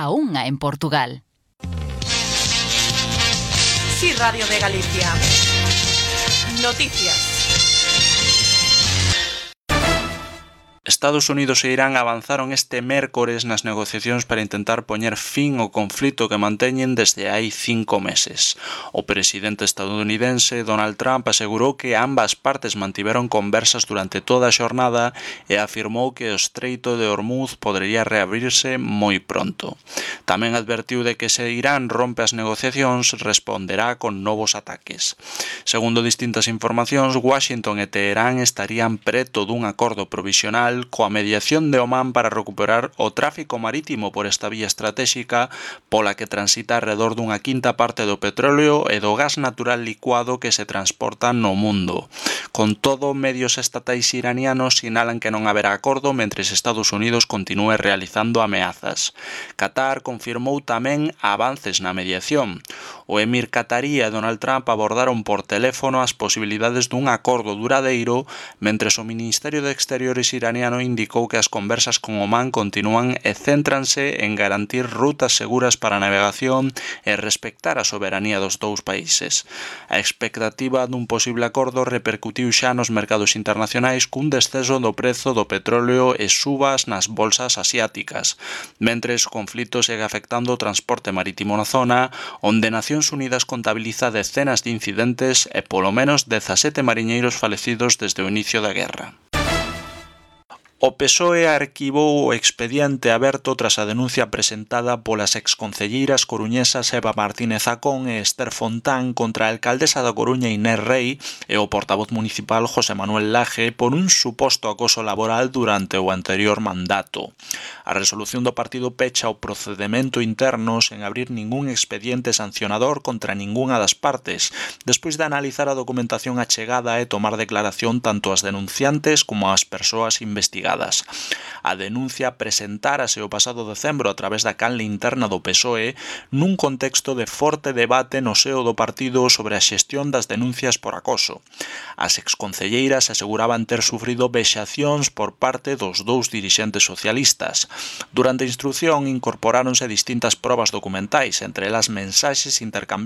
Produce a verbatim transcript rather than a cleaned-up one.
a unha en Portugal. Sí, Radio de Galicia. Noticias. Estados Unidos e Irán avanzaron este mércores nas negociacións para intentar poñer fin ao conflito que manteñen desde hai cinco meses. O presidente estadounidense Donald Trump asegurou que ambas partes mantiveron conversas durante toda a xornada e afirmou que o Estreito de Hormuz podería reabrirse moi pronto. Tamén advertiu de que se Irán rompe as negociacións responderá con novos ataques. Segundo distintas informacións, Washington e Teherán estarían preto dun acordo provisional coa mediación de Omán para recuperar o tráfico marítimo por esta vía estratéxica pola que transita alrededor dunha quinta parte do petróleo e do gas natural licuado que se transporta no mundo. Con todo, medios estatais iranianos sinalan que non haberá acordo mentres Estados Unidos continúe realizando ameazas. Qatar confirmou tamén avances na mediación. O emir qatarí e Donald Trump abordaron por teléfono as posibilidades dun acordo duradeiro, mentres o Ministerio de Exteriores iraniano indicou que as conversas con Omán continúan e céntranse en garantir rutas seguras para a navegación e respectar a soberanía dos dous países. A expectativa dun posible acordo repercutiu xa nos mercados internacionais cun descenso do prezo do petróleo e subas nas bolsas asiáticas, mentres o conflito segue afectando o transporte marítimo na zona, onde Nacións Unidas contabiliza decenas de incidentes e polo menos dezasete mariñeiros falecidos desde o inicio da guerra. O P S O E arquivou o expediente aberto tras a denuncia presentada polas exconcelleiras coruñesas Eva Martínez Zacón e Esther Fontán contra a alcaldesa da Coruña Inés Rei e o portavoz municipal José Manuel Laje por un suposto acoso laboral durante o anterior mandato. A resolución do partido pecha o procedemento interno sen abrir ningún expediente sancionador contra ningunha das partes, despois de analizar a documentación achegada e tomar declaración tanto as denunciantes como as persoas investigadas. A denuncia presentárase o pasado decembro a través da canle interna do P S O E nun contexto de forte debate no seo do partido sobre a xestión das denuncias por acoso. As exconcelleiras aseguraban ter sufrido vexacións por parte dos dous dirixentes socialistas. Durante a instrución incorporáronse distintas probas documentais, entre elas mensaxes intercambiadas